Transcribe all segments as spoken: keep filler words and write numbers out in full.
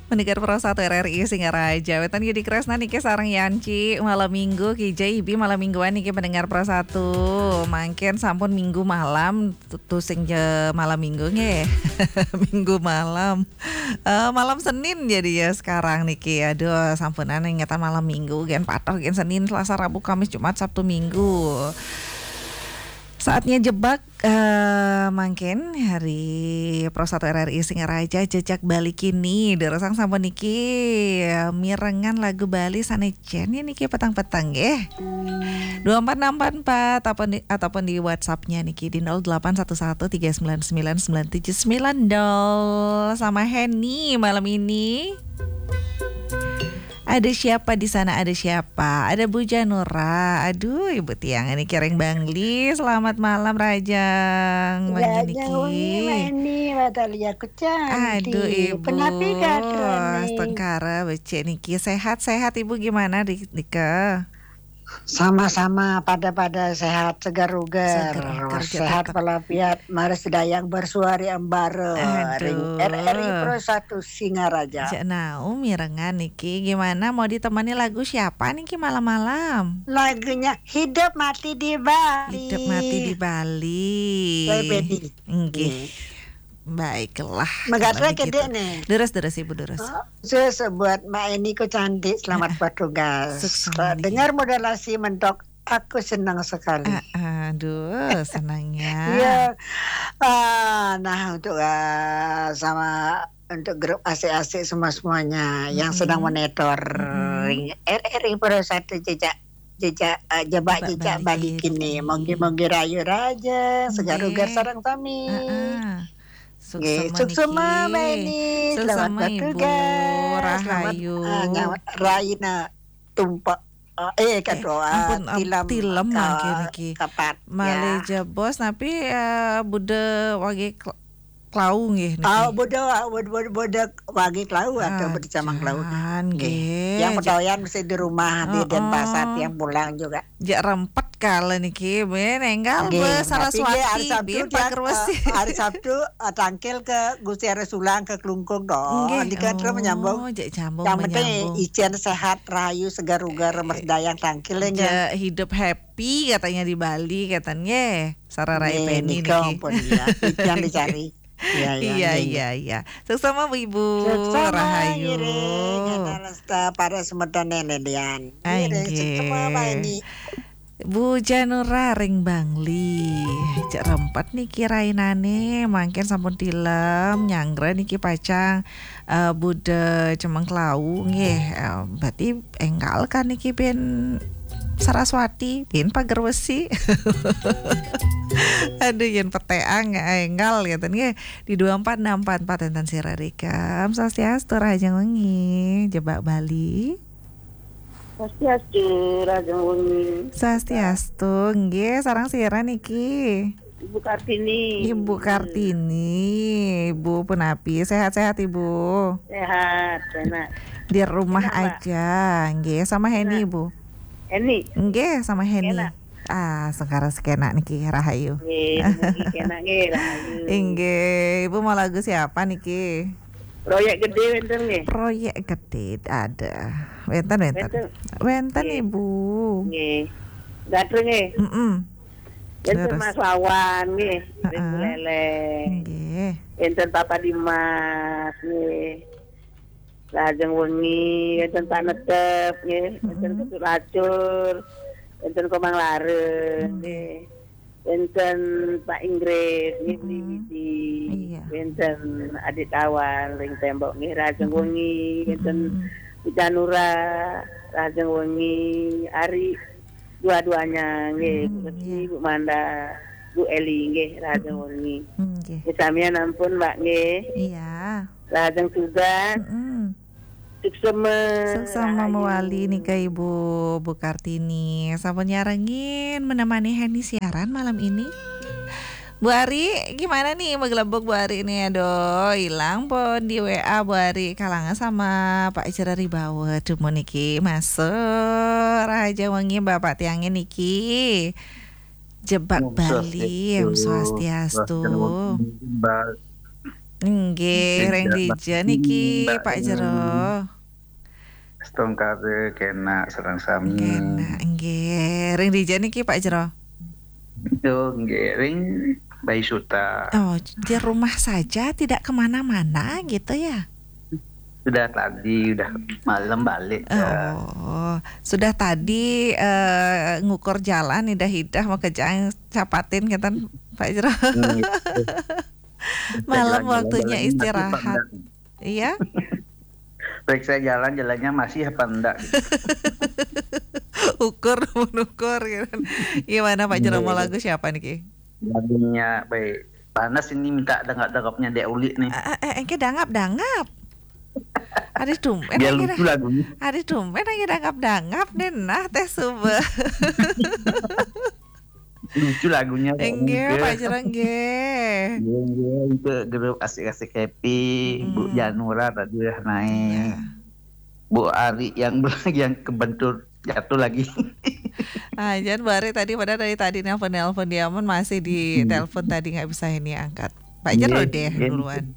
Pendengar Pro satu R R I Singaraja. Wénten Yudi Kresna niki sareng Yanci malam minggu, Ki J B malam mingguan niki pendengar Pro satu. Mangkin sampun minggu malam, tu-, tusing je malam minggu nggih. Minggu malam. Eh, malam Senin jadi ya sekarang niki. Aduh, sampunan ingetan malam minggu, gen patoh, gen Senin, Selasa, Rabu, Kamis, Jumat, Sabtu, Minggu. Saatnya jebak, eh, mangkin hari Pro satu R R I Singaraja, jejak Bali kini. Durusang sampun niki, eh, mirengan lagu Bali sané jen niki petang-petang nggih. Dua empat enam empat empat, ataupun di, ataupun di WhatsApp-nya niki di nol delapan satu satu tiga sembilan sembilan sembilan tujuh sembilan nol. Sama Henny malam ini. Ada siapa di sana? Ada siapa? Ada Bu Janura. Aduh, Ibu Tiang ini kiring Bangli. Selamat malam, Rajang. Bangli Rajang niki. Wengi, Mbak Eni, Mbak Dahlia, ku cantik. Aduh, Ibu. Penapi katrone? Tengkara becik niki. Sehat-sehat, Ibu, gimana di, dika? Sama-sama, pada-pada sehat, segar uger. Seger uger, sehat tetap walafiat, mari sedayang bersuari embara. Aduh. Ring R R I Pro satu Singaraja. Cek Nau mirengan niki, gimana, mau ditemani lagu siapa niki malam-malam? Lagunya Hidup Mati di Bali. Hidup Mati di Bali. Play Betty. Nggih. Hmm. Baiklah. Megatra kalau begitu. Kedek nih. Deres, deres, Ibu, deres. Oh, sukses buat Mbak Eni, ku cantik. Selamat bertugas. Sukses, Mbak Eni. Dengar modulasi mentok, aku senang sekali. Ah, aduh, senangnya. Iya. Ah, nah, untuk, ah, sama untuk grup asik-asik semua-semuanya yang sedang monitor R R I Pro satu, jejak, jejak, ah, jebak jejak Bali kini. Mogi-mogi rahayu raja, segar uger sareng sami. Heeh. Nggih, suksema, Mbak Eni. Selamat bertugas. Selamat, rahayu. Ah, raina tumpek. Eh, eh, kadoa, ampun, am-, tilem, tilem mangke niki. Malih jebos, tapi, eh, Buda wage kl-, klau nggih niki. Oh, Buda, Buda, Buda wage klau atau Buda Camang Klau. Nggih. Yang pedoyan mesti di rumah, di Denpasar, yang pulang juga. Jak rempet kala niki, ben enggal nggih, be Saraswati, ben Pager Wesi. Eh, hari Sabtu, eh, tangkil ke Gusti Arya Sulang ke Klungkung dong. Nggih. Nika terus menyambung. Oh, jak nyambung. Yang penting ijen sehat, rahayu, segar uger, merdayang tangkil, ya, nggih. Jak hidup happy katanya di Bali, katanya nggih. Sarah Rai Penny niki. Nggih, nika pun ya, itu yang dicari. Iya, iya, iya, iya. Suksema, Bu, Ibu. Suksema, rahayu. Ngiring, kita resta para semeton nene lian. Ah, ngiring, nggih. Suksema, Mbak Eni. Bu Janura ring Bangli. Cek rempet niki rainane, mangkin sampun tilem, nyanggra niki pacang, eh, Buda Cemeng Klau nggih. Eh, berarti enggal kan niki ben Saraswati, ben Pager Wesi. Aduh, yen peteang enggal ngeten nggih. Di dua empat enam empat empat enten sira rikam. Swastiastu, rahajeng wengi. Jebak Bali. Swastiastu, rahajeng wengi. Swastiastu, nggih, sareng sira niki? Ibu Kartini. Ibu Kartini, Ibu punapi? Sehat-sehat, Ibu? Sehat, enak. Di rumah aja, nggih, sama Heni, Bu? Heni. Nggih, sama Heni. Enak. Ah, sekarang sekenak niki, rahayu. Nggih, mugi kenak nggih, rahayu. Inggih, Ibu mau lagu siapa niki? Proyek Gede wenten nggih? Proyek Gede ada. Wenten, wenten. Wenten. Wenten, nggih. Ibu. Nggih. Gatreng nggih? Mm-mm. Wenten terus. Mas Wawan nggih, ring Buleleng. Nggih. Wenten Papa Dimas nggih. Lajeng wengi, wenten Pak Netep nggih, wenten Ketut Lacur, wenten Komang Lareng nggih. Wenten Pak Inggris nggih, Beli Widi. Iya. Wenten Adik Tawan ring Tembok nggih, lajeng wengi, wenten Bu Janura, lajeng wengi, Ari dua-duanya nggih, Bu Resmi, iya. Bu Manda, Bu Eli nggih, lajeng wengi. Nggih. Nggih, samian ampun, Mbak, nggih. Iya. Lajeng tugas. Suksema. Suksema rahayu. Mewali nika Ibu, Bu Kartini. Sampun nyarengin menemani Heni siaran malam ini. Bu Ari, gimana nih, magelebok Bu Ari nih? Aduh, hilang pun di W A Bu Ari, kalangan sama Pak Ijrari Bawa. Dumun niki masuk. Rahaja wengi Bapak tiangnya niki. Jebak Bali, Om Swastiastu. Swastiastu. Rahajeng wengi, Mbak. Nggih, ring dija niki, Pak Jero? Astungkara, kenak sareng sami. Kenak, nggih. Ring dija niki, Pak Jero? Itu nggih, ring Baisuta. Oh, di rumah saja, tidak kemana-mana gitu ya? Sudah tadi, udah malam balik. Oh, sudah tadi, eh, ngukur jalan, idah-idah makejang capatin ngeten, Pak Jero. Nggih. Malam waktunya istirahat. Iya? Periksa jalan, jalannya masih apa enggak? Ukur, mengukur, gitu. Gimana, Pak Jero, mau lagu siapa niki? Lagunya, baik. Panas ini, minta dangap-dangapnya Dek Uli nih. Eh, eh, eh, engke dangap-dangap. Aduh, tumben. Biar lucu lagunya. Aduh, tumben engke dangap-dangap nih, nah, teh suba. Lucu lagunya, Pak. Enggih, Pak Jero, enggih. Enggih, enggih. Untuk grup Asik-Asik Happy, Bu Janura tadi udah naik. Iya. Bu Ari yang, yang kebentur jatuh lagi. Ah, jan Bu Ari tadi, padahal dari tadi nelpon-nelpon, dia pun masih di telepon tadi, nggak bisa ini angkat. Pak Jero deh duluan.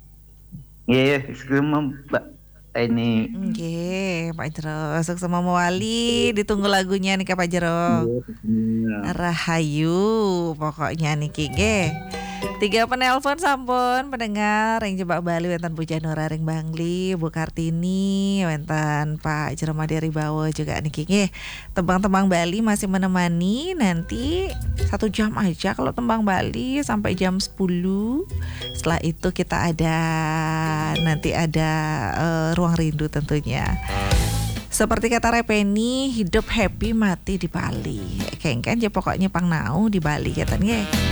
Iya, sebelum Mbak ini. Nggih, Pak Jero. Suksma mawali, ditunggu lagunya nih, Pak Jero. Iya, iya. Rahayu, pokoknya niki, nggih. Tiga penelpon sampun, pendengar ring Jebak Bali, wenten Bu Janura ring Bangli, Bu Kartini, wenten Pak Jero Madya Ribawa juga niki, nggih. Tembang-tembang Bali masih menemani, nanti satu jam aja kalau tembang Bali sampai jam sepuluh. Setelah itu kita ada, nanti ada, eh, Ruang Rindu tentunya. Seperti kata Repeni, hidup happy, mati di Bali. Kengken ya pokoknya pang nau di Bali, kata nggih.